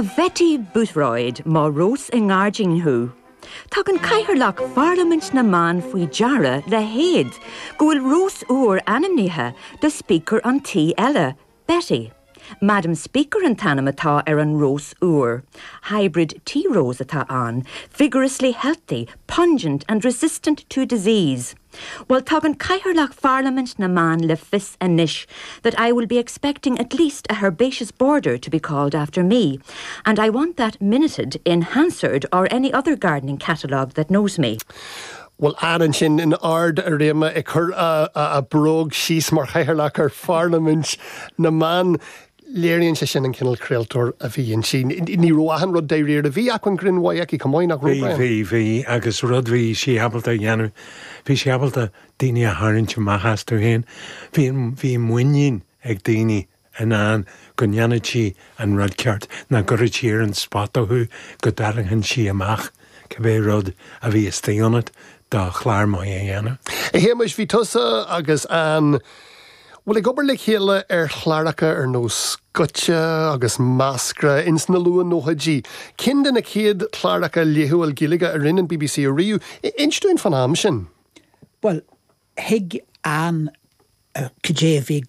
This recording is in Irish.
A Bhetty Boothroyd, má rós i ngairdín thú. Tugann Cathaoirleach Pharlaimint na mBan faoi deara le héad go bhfuil rós úr ainmnithe do Speaker an tí eile, Betty. Madam Speaker an t-ainm atá ar an rós úr. Hybrid tea rose atá ann, vigorously healthy, pungent and resistant to disease. Bhuel, tugann Cathaoirleach Pharlaimint na mBan le fios anois that I will be expecting at least a herbaceous border to be called after me, and I want that minuted in Hansard or any other gardening catalogue that knows me. Bhuel, Ann ansin in ard a réime ag cur a bróg síos mar chathaoirleach ar Pharlaimint na mBan. Léiríonn sé sin an cineál craoltóir a bhí inti. Ní raibh achan rud dáiríre. Bhí acmhainn grinn mhaith aici chomh maith, nach raibh, Brian? Bhí, bhí, agus rud bhí sí ábalta a dhéanamh, bhí sí ábalta daoine a tharraingt amach astu féin. Bhí, bhí muinín ag daoine in Ann go ndéanfadh sí an rud ceart, nach gcuirfeadh sí ar an spota thú, go dtarraingfeadh sí amach cibé rud a bhí istigh ionat do chlár maith a dhéanamh. A Shéamais, bhí tusa agus Ann, bhuel, ag obair le chéile ar chláracha ar nós Goitse agus Meascra ins na luath-nóchaidí. Ceann de na chéad chláracha laethúil Gaeilge a rinne an bbc ariamh. Inis dúinn fán am sin. Bhuel, thuig Ann cad é a bhí i gceist.